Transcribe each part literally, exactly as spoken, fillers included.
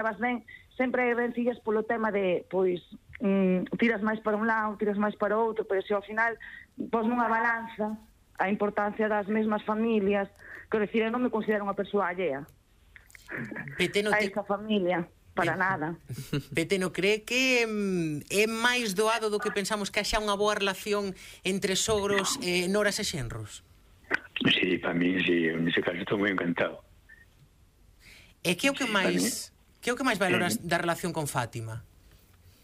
vas ben, sempre hai rencillas polo tema de, pois, mm, tiras máis para un lado, tiras máis para outro, pero se ao final pos nunha balanza a importancia das mesmas familias, que decir, eu non me considero unha persoa allea Peteno, a te... esa familia, para eh. nada. Peteno, cree que mm, é máis doado do que pensamos que haxa unha boa relación entre sogros, eh, noras e xenros? Sí, para mí, sí, en ese caso estou moi encantado. E que é o que Sí, máis que é o que máis valoras eh, da relación con Fátima?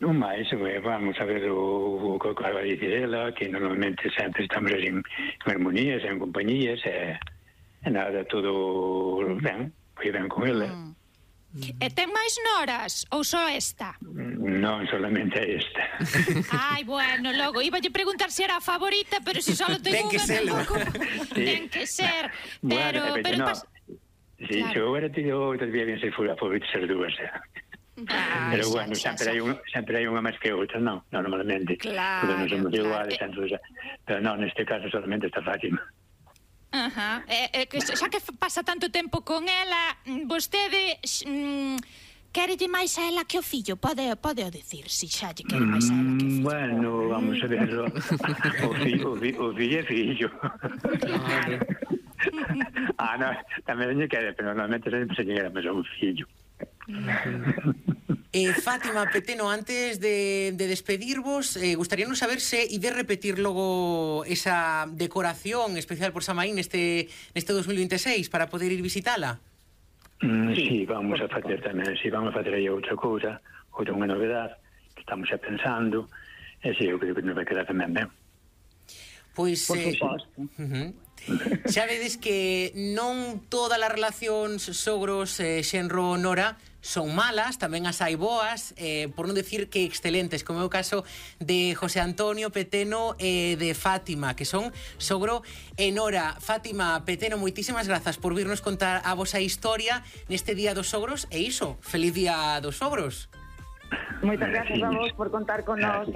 Non máis, eh, vamos a ver o, o que acaba de dicir ela, que normalmente sempre estamos en, en armonías, en compañías, e, e nada, todo ben, foi ben con ela. Mm. E ten máis noras ou só esta? Non solamente esta. Ai, bueno, logo iba a preguntar se era a favorita, pero se só ten Ten que unha serlo. tampouco. Sí. Ten que ser. Bueno, Pero pero pero no. pas... Sí, Claro. se agora tido todavía bien ser a favorita ser dúas, eh. Ai, Pero xa, bueno, xa, sempre xa. hai unha sempre hai unha máis que outra, non, non normalmente. Claro, porque non somos claro. iguales, Eh. tanto, pero non, neste caso solamente está Fátima. Ajá. E, e que xa que pasa tanto tempo con ela, mm, vostede mm, quérelle máis a ela que o fillo? Pode, pode o decir, si xa lle quere máis a ela que o fillo. Bueno, vamos a verlo. O fillo, o fillo, o fillo é fillo. Ah, no, tamén lle quere, pero normalmente sempre se llega máis a un fillo. Eh, Fátima, Peteno, antes de, de despedirvos, eh, gustaríanos saber se ide repetir logo esa decoración especial por Samaín neste, neste dos mil veintiséis para poder ir visitala. Mm, sí, vamos a facer tamén, sí, vamos a facer aí outra cousa, outra unha novedade que estamos xa pensando, e sí, eu creo que nos vai quedar tamén ben. Pois, Por eh, suposto. uh-huh. Xa vedes que non todas as relacións sogros, eh, xenro, nora son malas, tamén as hai boas, eh, por non decir que excelentes, como é o caso de José Antonio, Peteno e de Fátima, que son sogro e nora. Fátima, Peteno, moitísimas grazas por virnos contar a vosa historia neste Día dos Sogros, e iso, feliz Día dos Sogros. Moitas gracias a vos por contar con nós.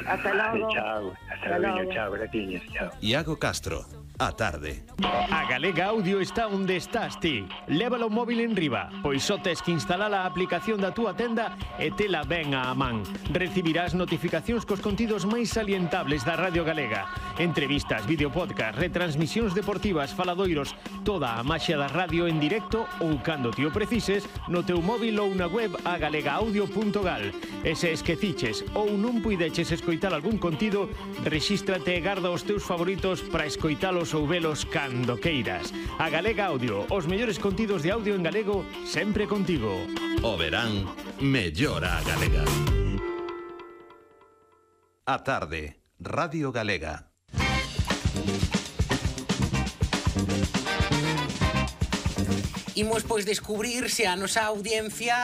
Hasta logo. Chao, hasta logo, chao, gratiñas, chao. Iago Castro, a tarde. A Galega Audio está onde estás ti. Lévalo o móvil en riba, pois só tes que instalar a aplicación da túa tenda e tela ben á man. Recibirás notificacións cos contidos máis salientables da Radio Galega. Entrevistas, videopodcast, retransmisións deportivas, faladoiros, toda a maxia da radio en directo ou cando ti o precises no teu móvil ou na web a galega audio punto gal. E se esqueciches ou non puideches escoitar algún contido, rexístrate e garda os teus favoritos para escoitalos ou velos cando queiras. A Galega Audio, os mellores contidos de audio en galego, sempre contigo. O verán mellora a galega. A tarde, Radio Galega. Imos, pois, descubrir se a nosa audiencia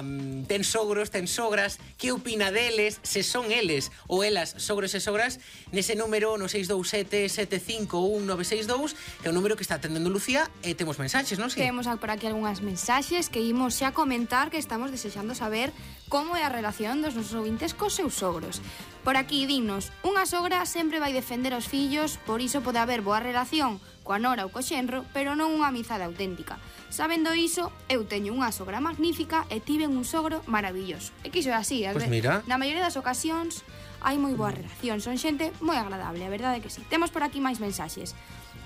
um, ten sogros, ten sogras, que opina deles, se son eles ou elas sogros e sogras, nese número no seis dous sete sete cinco un nove seis dous, que é o número que está atendendo Lucía, e temos mensaxes, non? Sí? Temos por aquí algunhas mensaxes que imos xa comentar, que estamos desexando saber como é a relación dos nosos ouvintes cos seus sogros. Por aquí, dinos, unha sogra sempre vai defender os fillos, por iso pode haber boa relación coa nora ou co xenro, pero non unha amizade auténtica. Sabendo iso, eu teño unha sogra magnífica e tiven un sogro maravilloso. E que iso é así, a Pois ver, mira. na maioría das ocasións hai moi boa relación, son xente moi agradable, a verdade é que sí. Temos por aquí máis mensaxes.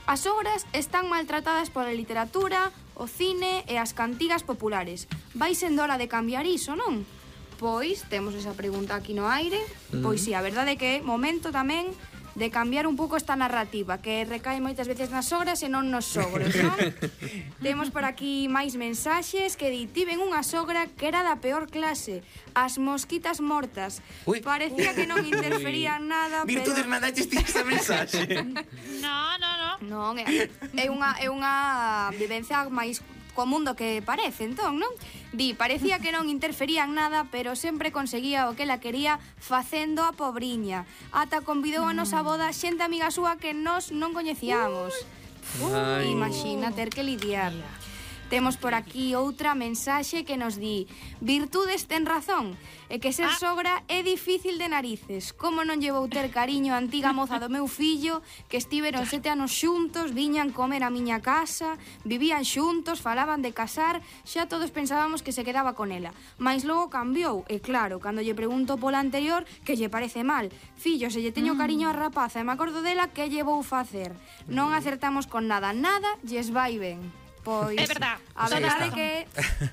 As sogras están maltratadas pola literatura, o cine e as cantigas populares. Vai sendo hora de cambiar iso, non? Pois, temos esa pregunta aquí no aire. Mm. Pois sí, a verdade é que é momento tamén de cambiar un pouco esta narrativa que recae moitas veces nas sogras e non nos sogros, non? Temos por aquí máis mensaxes que di: tiven unha sogra que era da peor clase, as mosquitas mortas. Ui. Parecía que non interferían nada, Virtudes, pero... mandaches ti esa mensaxe. No, no, no. Non, é, é unha é unha vivencia máis común do que parece, entón, non? Di, parecía que non interferían nada, pero sempre conseguía o que ela quería facendo a pobriña. Ata convidou a nosa boda xente amiga súa que nós non coñecíamos. Uh, imagina ter que lidiar. Temos por aquí outra mensaxe que nos di: virtudes ten razón, e que ser sogra é difícil de narices. Como non llevou ter cariño a antiga moza do meu fillo, que estiveron sete anos xuntos, viñan comer a miña casa, vivían xuntos, falaban de casar, xa todos pensábamos que se quedaba con ela. Mais logo cambiou, e claro, cando lle pregunto pola anterior, que lle parece mal. Fillo, se lle teño cariño a rapaza e me acordo dela, que lle vou facer? Non acertamos con nada, nada lles vai ben. Pois, é verdad, a verdade é que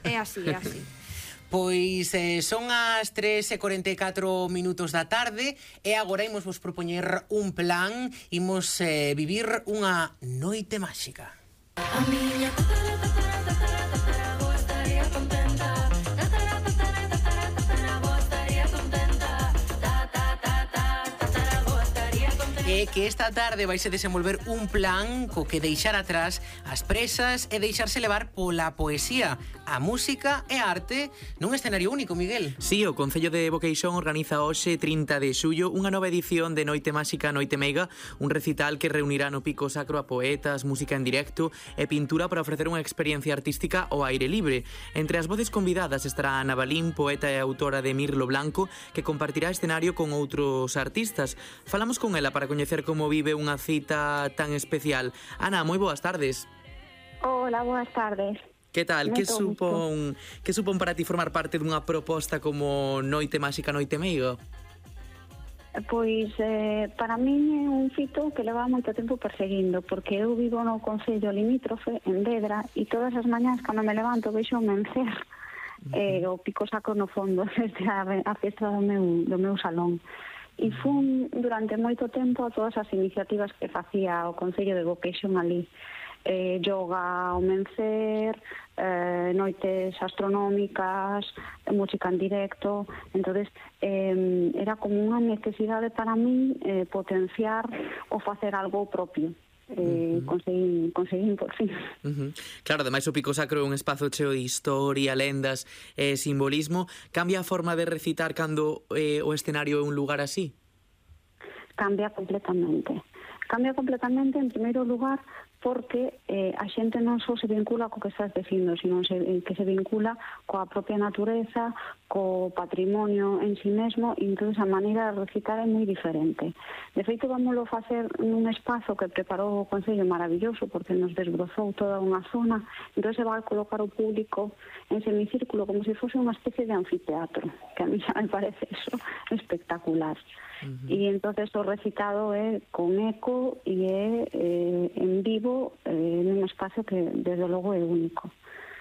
é así, é así. Pois eh, son as tres e cuarenta e catro minutos da tarde e agora imos vos propoñer un plan, imos eh, vivir unha noite máxica. A miña tatara, tatara, tatara, tatara, vos estaría contenta. Tatara, tatara, tatara, tatara, vos estaría contenta. Ta, ta, ta, ta, tatara, vos estaría contenta. E que esta tarde vaise desenvolver un plan co que deixar atrás as presas e deixarse levar pola poesía, a música e a arte nun escenario único, Miguel. Sí, o Concello de Boqueixón organiza hoxe, trinta de xullo, unha nova edición de Noite Máxica, Noite Meiga, un recital que reunirá no Pico Sacro a poetas, música en directo e pintura para ofrecer unha experiencia artística ao aire libre. Entre as voces convidadas estará Ana Balín, poeta e autora de Mirlo Blanco, que compartirá escenario con outros artistas. Falamos con ela para coñecer como vive unha cita tan especial. Ana, moi boas tardes. Hola, boas tardes. Que tal? Que Moito supón, que supón para ti formar parte dunha proposta como Noite Máxica, Noite Meiga? Pois eh, para min é un fito que leva moito tempo perseguindo, porque eu vivo no concello limítrofe, en Vedra, e todas as mañás cando me levanto veixo o mencer uh-huh. eh, o Pico Sacro no fondo desde a, a festa do meu, do meu salón. E fun durante moito tempo a todas as iniciativas que facía o Concello de Boqueixón ali. Eh, yoga ao mencer, eh, noites astronómicas, música en directo. Entonces eh, era como unha necesidade para mí eh, potenciar ou facer algo propio. Eh, uh-huh. conseguín, conseguín por fin. Uh-huh. Claro, ademais o Pico Sacro é un espazo cheo de historia, lendas e eh, simbolismo. Cambia a forma de recitar cando eh, o escenario é un lugar así? Cambia completamente. Cambia completamente, en primeiro lugar, porque eh, a xente non só se vincula co que estás dicindo, sino se, que se vincula coa propia natureza, co patrimonio en sí mesmo, e entón a maneira de recitar é moi diferente. De feito, vámoslo facer nun espazo que preparou o Concello maravilloso, porque nos desbrozou toda unha zona, entón se vai colocar o público en semicírculo como se fose unha especie de anfiteatro, que a mí xa me parece eso espectacular. Uh-huh. E entonces o recitado é con eco e é eh, en vivo eh, nun espacio que desde logo é único.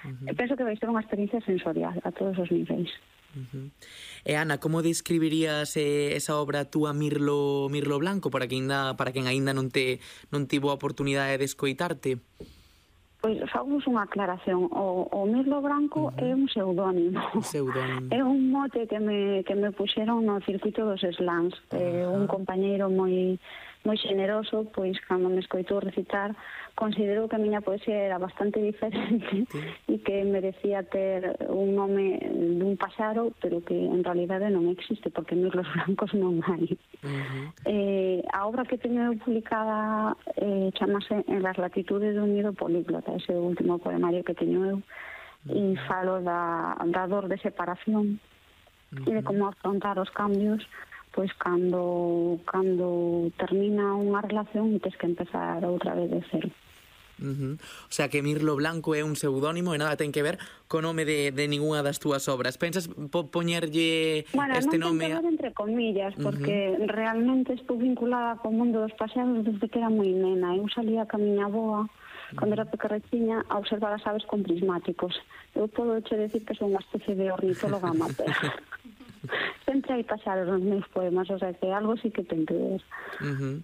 Uh-huh. E penso que vai ser unha experiencia sensorial a todos os niveis. Uh-huh. E Ana, como describirías eh, esa obra túa Mirlo, Mirlo Blanco para quen ainda, para quen aínda non te non tivo a oportunidade de escoitarte? Pois fagamos unha aclaración. O, o Mirlo Blanco uh-huh. é un pseudónimo. Pseudónimo. É un mote que me, que me puxeron no circuito dos slams. Uh-huh. Eh, un compañeiro moi moi xeneroso, pois cando me escoitou recitar, considerou que a miña poesía era bastante diferente e que merecía ter un nome dun paxaro, pero que en realidade non existe, porque Mirlos Blancos non hai. Uh-huh. Eh, a obra que teño publicada eh, chamase En las latitudes do nido políglota, ese último poemario que teño eu, uh-huh. e falo da, da dor de separación uh-huh. e de como afrontar os cambios pois cando cando termina unha relación e tes que empezar outra vez de cero. Uh-huh. O sea que Mirlo Blanco é un pseudónimo e nada ten que ver co nome de, de ninguna das túas obras. Pensas po poñerlle bueno, este non nome? Bueno, non ten que ver entre comillas, porque uh-huh. realmente estou vinculada co mundo dos paxaros desde que era moi nena. Eu salía ca miña avoa cando era pequerrechiña a observar as aves con prismáticos. Eu podo che decir que son unha especie de ornitóloga amateur. Sempre hai paxaros nos meus poemas, o sea que algo sí que ten que ver. Uh-huh.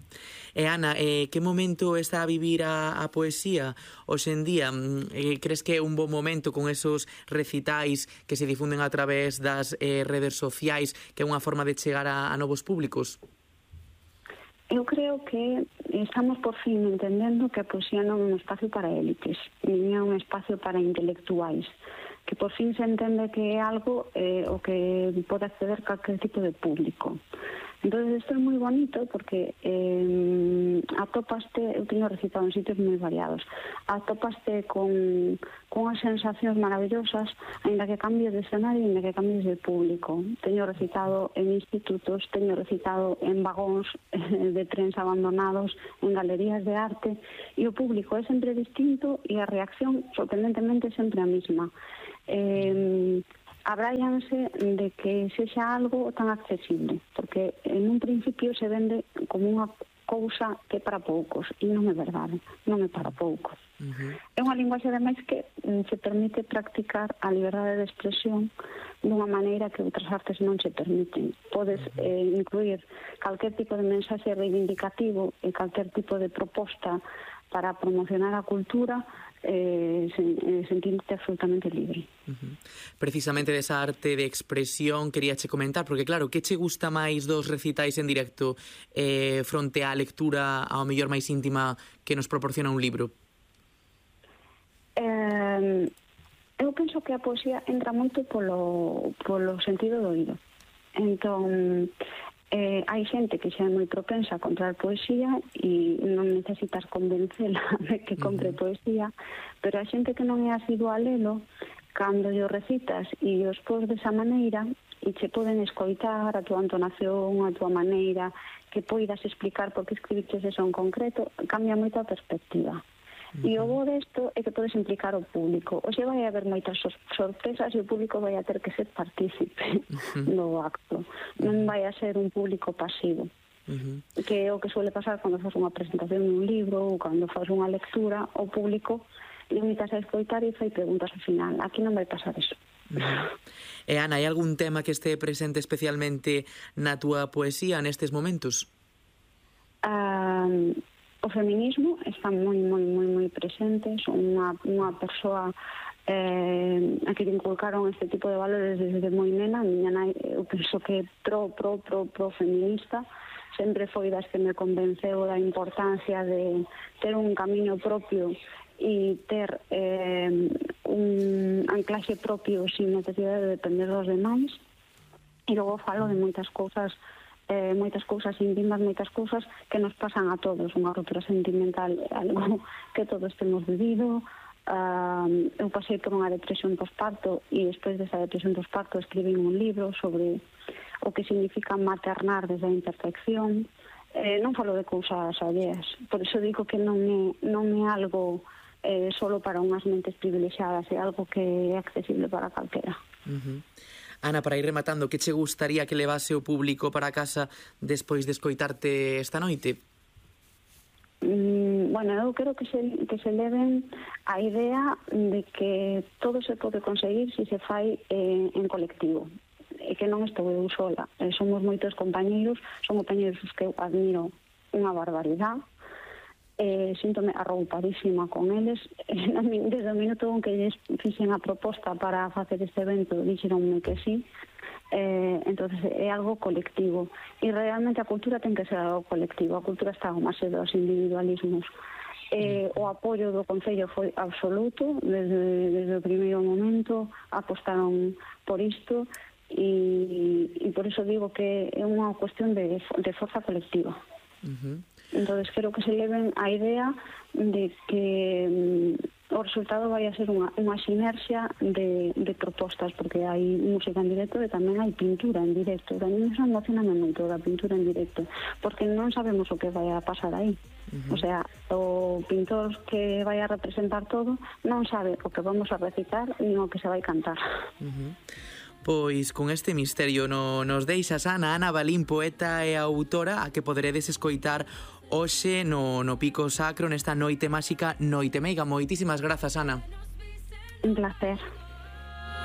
E Ana, eh, que momento está a vivir a, a poesía hoxe en día? Eh, crees que é un bon momento con esos recitais que se difunden a través das eh, redes sociais, que é unha forma de chegar a, a novos públicos? Eu creo que estamos por fin entendendo que a poesía non é un espacio para élites, nin é un espacio para intelectuais, que por fin se entende que é algo eh, o que pode acceder calquer tipo de público. Entón, isto é moi bonito porque eh, atopaste, eu teño recitado en sitios moi variados, atopaste con, con as sensacións maravillosas, ainda que cambies de escenario, ainda que cambies de público. Teño recitado en institutos, teño recitado en vagóns de trens abandonados, en galerías de arte, e o público é sempre distinto e a reacción, sorprendentemente, é sempre a mesma. Eh, abráianse de que sexa algo tan accesible, porque en un principio se vende como unha cousa que é para poucos, e non é verdade, non é para poucos. Uh-huh. É unha linguaxe, ademais, que mm, se permite practicar a liberdade de expresión dunha maneira que outras artes non se permiten. Podes eh, incluir calquer tipo de mensaxe reivindicativo e calquer tipo de proposta para promocionar a cultura, eh, sen, eh, sentirte absolutamente libre. Uh-huh. Precisamente desa arte de expresión queríache comentar, porque claro, que che gusta máis dos recitais en directo eh, fronte á lectura ao mellor máis íntima que nos proporciona un libro? Eh, eu penso que a poesía entra moito polo, polo sentido do oído. Entón, Eh, hai xente que xa é moi propensa a comprar poesía e non necesitas convencela de que compre uh-huh. poesía, pero a xente que non é asidua a lelo, cando yo recitas e os pos desa maneira e che poden escoitar a túa entonación, a túa maneira, que poidas explicar por que escribiches eso en concreto, cambia moito a perspectiva. E o bo desto é que podes implicar o público. O xe vai haber moitas sorpresas e o público vai a ter que ser partícipe uh-huh. do acto. Non vai a ser un público pasivo. Uh-huh. Que é o que suele pasar cando faz unha presentación dun libro ou cando faz unha lectura, o público limitas a escoitar e fai preguntas ao final. Aquí non vai pasar eso. Uh-huh. E Ana, hai algún tema que este presente especialmente na túa poesía nestes momentos? Um, O feminismo está moi, moi, moi, moi presente. Son unha, unha persoa eh, a que inculcaron este tipo de valores desde moi nena. A miña nai, eu penso que é pro, pro, pro, pro feminista. Sempre foi das que me convenceu da importancia de ter un camiño propio e ter eh, un anclaxe propio sin necesidade de depender dos demais. E logo falo de moitas cousas Eh, moitas cousas íntimas, moitas cousas que nos pasan a todos. Unha ruptura sentimental é algo que todos temos vivido. Uh, eu pasei por unha depresión posparto e despois desa depresión posparto escribí un libro sobre o que significa maternar desde a imperfección. Eh, non falo de cousas alleas, por iso digo que non é, non é algo eh, solo para unhas mentes privilexiadas, é algo que é accesible para calquera. Uh-huh. Ana, para ir rematando, que che gustaría que levase o público para casa despois de escoitarte esta noite? Mm, bueno, eu creo que se, que se leven a idea de que todo se pode conseguir se se fai eh, en colectivo, e que non estou eu sola. Eh, somos moitos compañeiros, son compañeiros que eu admiro unha barbaridade. Eh, síntome arroupadísima con eles. Desde o minuto en que lles fixen a proposta para facer este evento, dixeronme que sí. Eh, entonces é algo colectivo. E realmente a cultura ten que ser algo colectivo. A cultura está ao máis dos individualismos. Eh, o apoio do Concello foi absoluto. Desde, desde o primeiro momento apostaron por isto e, e por iso digo que é unha cuestión de, de forza colectiva. Uh-huh. Entonces creo que se leven a idea de que mm, o resultado vai a ser unha, unha sinerxia de, de propostas, porque hai música en directo e tamén hai pintura en directo. Tamén iso emocioname moito da pintura en directo, porque non sabemos o que vai a pasar aí. Uh-huh. O sea, o pintor que vai a representar todo non sabe o que vamos a recitar nin o que se vai cantar. Uh-huh. Pois con este misterio no, nos deixas, Ana, Ana Balín, poeta e autora, a que poderedes escoitar hoxe no, no Pico Sacro nesta noite máxica Noite Meiga. Moitísimas grazas, Ana. Un placer.